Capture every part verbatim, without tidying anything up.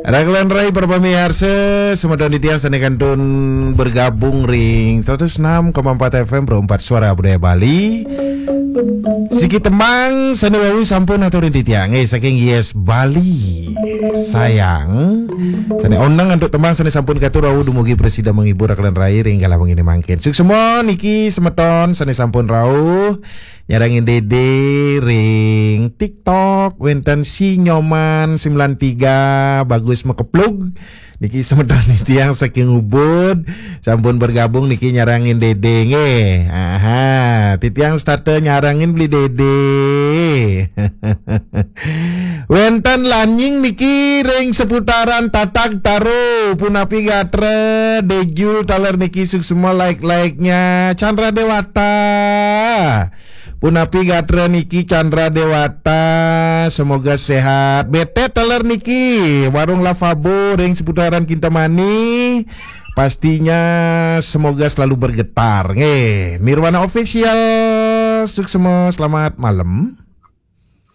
Raglan rai para pamiarsa, semeton titiang sane kantun bergabung ring seratus enam koma empat F M Pro empat Suara Budaya Bali. Siki tembang sane wau sampun aturin titiang, eh, saking Yes Bali. Sayang. Sane oneng antuk tembang sane sampun katur wau dumugi prasida menghibur raglan rai ring galah wengine mangkin. Suksma niki semeton sane sampun rauh nyarengin Dede ring TikTok, wenten Si Nyoman sembilan tiga, Bagus Mekeplug. Niki semeton titiang saking Ubud, sampun bergabung niki nyarengin Dede nggih. Aha, titiang setata nyarengin Beli Dede. Wenten Lanying niki ring seputaran Tatag Taro, punapi gatra, Dejul taler niki suksma like-like-nya, Chandra Dewata. Punapi gatra niki Chandra Dewata, semoga sehat. Betet taler niki, Warung Lavabo ring seputaran Kintamani. Pastinya semoga selalu bergetar. Nggih, Nirwana Official, suksma, selamat malam.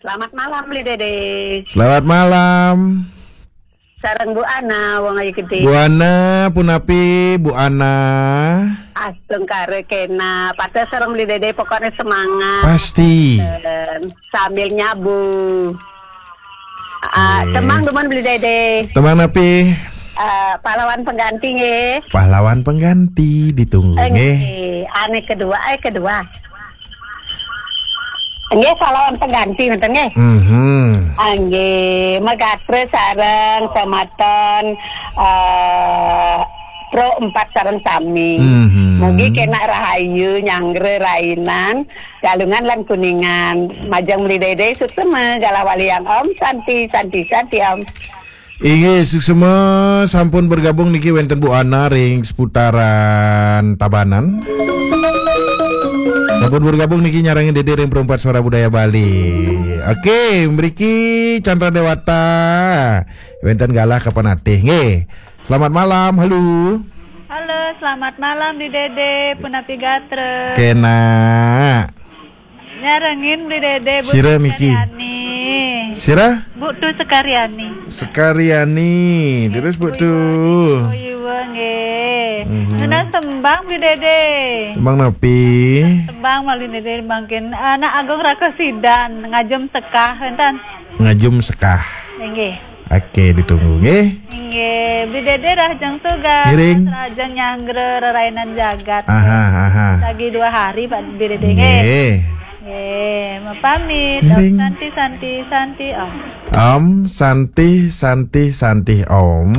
Selamat malam, Beli Dede. Selamat malam. Sareng Bu Ana, wong ayu gedé. Bu Ana, punapi, Bu Ana? Astungkara kena, pada sareng Beli Dede, pokoknya semangat. Pasti. Dan sambil nyabu. Ah, Nggih. Tembang dumun Beli Dede. Tembang napi? Ah, pahlawan pengganti, nggih. Pahlawan pengganti, ditunggu, Eh, nggih. Nggih. Ane kedua, eh, kedua. Nggih, pahlawan pengganti, ngoten, nggih. Mhm. Ah, nggih, magatra sareng semeton, eh, Pro empat sareng sami. Mhm. Mugi kena rahayu, nyanggra rainan, Galungan lan Kuningan. Majeng Beli Dede, suksma, galah waliang, Om Santi, Santi, Santi, Om. Inggih, suksma, sampun bergabung niki wenten Bu Ana ring seputaran Tabanan. Sampun bergabung niki nyarengin Dede ring Pro empat Suara Budaya Bali. Oke, mriki Chandra Dewata. Wenten galah kapan atih nggih. Selamat malam, halo. Halo, selamat malam Beli Dede, punapi gatra. Kena. Nyarengin Beli Dede, Bu Sira niki. Sekaryani. Sira? Bu Tu Sekaryani. Sekaryani. Terus Bu Tu. Oh, iya, nggih. Mhm. Nunas tembang Beli Dede. Tembang napi? Tembang Beli Dede mangkin Anak Agung Raka Sidan, Ngajum Sekah, enten. Ngajum Sekah. Inggih. Oke, ditunggu nggih. Inggih, Beli Dede rahajeng tugas, ngiring. Rahajeng nyanggra rerainan jagat. Aha, aha. Lagi dua hari, Pak Beli Dede, nggih. Nggih. Nggih, mapamit. Ngiring. Om Santi, Santi, Santi, Om. Om Santi, Santi, Santi, Om.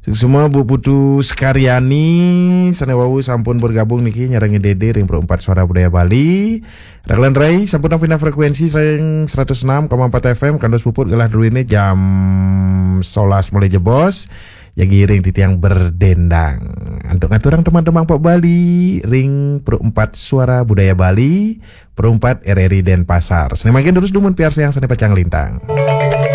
Suksma Bu Putu Sekaryani, sane wau sampun bergabung niki nyarengin Dede ring Pro empat Suara Budaya Bali. Raglan rai, sampun pindah frekuensi ring seratus enam koma empat F M, kantos puput galah druene jam sebelas mulai jebos. Jagi ring titiang berdendang. Antuk ngaturang teman-teman Pak Bali, ring Pro empat Suara Budaya Bali, Pro empat R R I Denpasar. Sane mangkin durus dumun piarsayang sane pacang lintang.